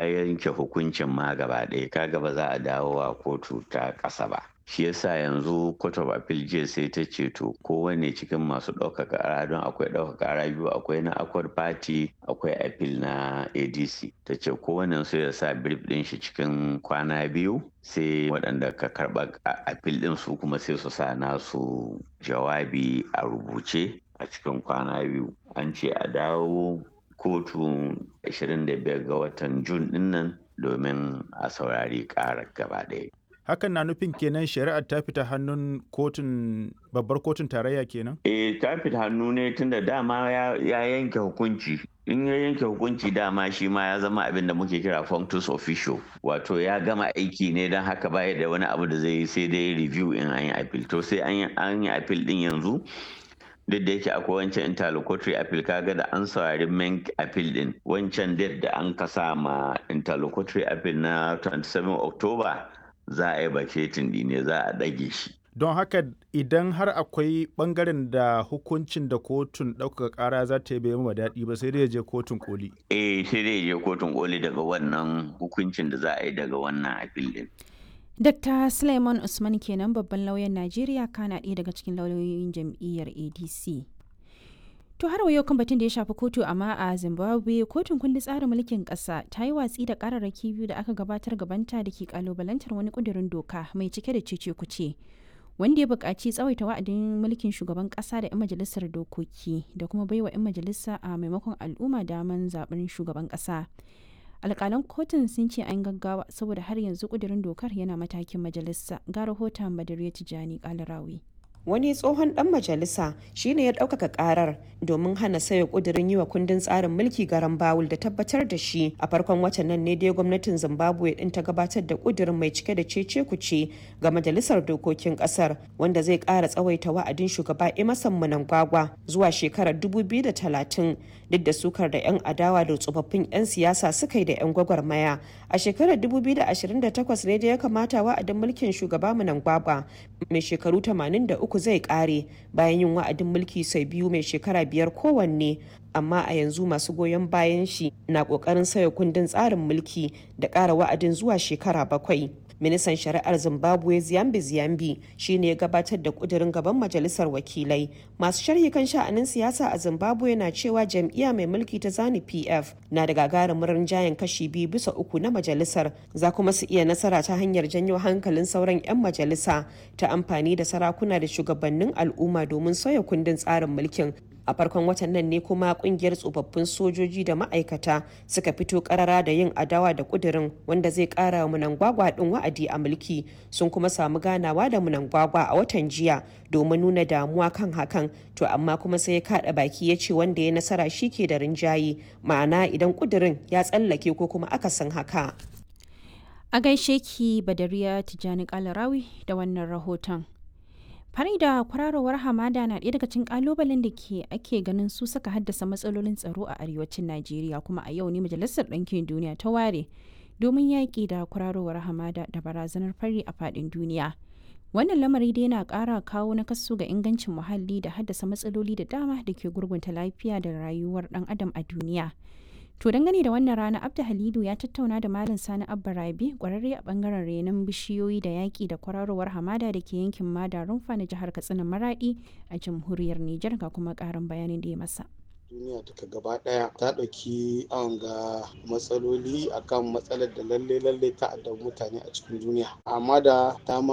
Yanke hukuncin ma gaba ɗaya, kaga ba za a dawo a kotu ta ƙasa ba. Shi yasa yanzu Court of Appeal jiya sai ta ce to kowane cikin masu ɗaukaka ƙara, don akwai ɗaukaka ƙara biyu, akwai na Accord Party, akwai appeal na ADC, ta ce kowane su ya sa brief ɗin shi cikin kwana 2, sai waɗanda ka karɓa appeal ɗin su kuma sai su sa nasu jawabi a rubuce a cikin kwana 2. An ce a dawo kotu 25 ga watan Jun dinnan domin a saurari karar gaba ɗaya. Hakan na nufin kenan shari'ar ta fita hannun kotun babbar kotun tarayya kenan? Eh, ta fita hannu ne, tunda dama ya yanke hukunci. In ya yanke hukunci, dama shi ma ya zama abin da muke kira functus official, wato ya gama aiki ne. Don haka baya da wani abu da zai yi sai dai review in an yi appeal. To sai an yi appeal din yanzu. Duk da yake akwai wancan interlocutory appeal, kaga da an saurari main appeal din, wancan date da an kasa ma interlocutory appeal na 27 October, za a yi vacating ne, za a ɗage shi. Don haka idan har akwai bangaren da hukuncin da kotun ɗaukaka ƙara za ta yi bai ma daɗi ba, sai dai ya je kotun koli. Eh, sai dai ya je kotun koli daga wannan hukuncin da za a yi daga wannan appeal din. Dr. Suleiman Usman kenan, babban lauyan Najeriya kana ɗaya daga cikin lauyoyin jam'iyyar ADC. To har wa yau kan batun da ya shafi kotu, amma a Zimbabwe, kotun kundin tsarin mulkin ƙasa ta yi watsi da ƙararraki biyu da aka gabatar gabanta da ke kalubalantar wani ƙudurin doka mai cike da cece kuce, wanda ya buƙaci tsawaita wa'adin mulkin shugaban ƙasa da 'yan majalisar dokoki da kuma baiwa 'yan majalisa a maimakon al'umma daman zaɓen shugaban ƙasa. Alƙalan kotun sun ce an gaggawa saboda har yanzu ƙudurin dokar yana matakin majalisa. Ga rahoton Badariya Tijani Kalarawi. Wani tsohon dan majalisa shine ya ɗaukaka karar domin hana sauya ƙudurin yi wa kundin tsarin mulki garan bawul da tabbatar da shi. A farkon watan nan ne dai gwamnatin Zimbabwe din ta gabatar da ƙudurin mai cike da cece kuce ga majalisar dokokin ƙasar, wanda zai ƙara tsawaita wa'adin shugaba Emerson Mnangagwa zuwa shekarar 2030, duk da sukar da 'yan adawa da tsofaffin 'yan siyasa suka yi da 'yan gwagwarmaya. A shekarar 2028 ne da ya kamata wa'adin mulkin shugaba Mnangagwa mai shekaru 83 zai kare, bayan yin wa'adin mulki sau biyu mai shekara 5 kowanne. Amma a yanzu masu goyon bayan shi na kokarin sauya kundin tsarin mulki da ƙara wa'adin zuwa shekara 7. Ministan shari'ar Zimbabwe Ziyambi Ziyambi shine ya gabatar da kudirin gaban majalisar wakilai. Masu sharhi kan sha'anin siyasa a Zimbabwe na cewa jam'iyya mai mulki ta Zani PF na da gagarumin rinjayen kashi 2 bisa 3 na majalisar, za kuma su iya nasara ta hanyar janyo hankalin sauran 'yan majalisa ta amfani da sarakuna da shugabannin al'umma domin sauya kundin tsarin mulkin. A farkon watan nan ne kuma kungiyar tsofaffin sojoji da ma'aikata suka fito karara da yin adawa da kudirin wanda zai kara wa Munangwagwa din wa'adi a mulki. Sun kuma samu ganawa da Munangwagwa a watan jiya domin nuna damuwa kan hakan. To amma kuma sai ya kada baki ya ce wanda ya nasara shi ke da rinjaye, ma'ana idan kudirin ya tsallake ko kuma akasin haka. A gaishe ki, Badariya Tijjani Kalarawi, da wannan rahoton. Fari da kwararowar hamada na ɗaya daga cikin ƙalubalen da ke ake ganin su suka haddasa matsalolin tsaro a arewacin Najeriya, kuma a yau ne Majalisar Ɗinkin Duniya ta ware domin yaƙi da kwararowar hamada da barazanar fari a faɗin duniya. Wannan lamari dai yana ƙara kawo nakasu ga ingancin muhalli da haddasa matsaloli da dama da ke gurgunta lafiya da rayuwar ɗan adam a duniya. To dangane da wannan rana, Abda Halidu ya tattauna da Malam Sani Abba Rabi, kwararre a bangaren renon bishiyoyi da yaƙi da kwararowar hamada da ke yankin Mada Rumfa na jihar Katsina Maradi a jamhuriyar Nijar, ga kuma ƙarin bayanin da ya masa. Duniya duka gaba daya ta ɗauki awon ga matsaloli akan matsalar da lalle lalle ta addabi mutane a cikin duniya, amma da ta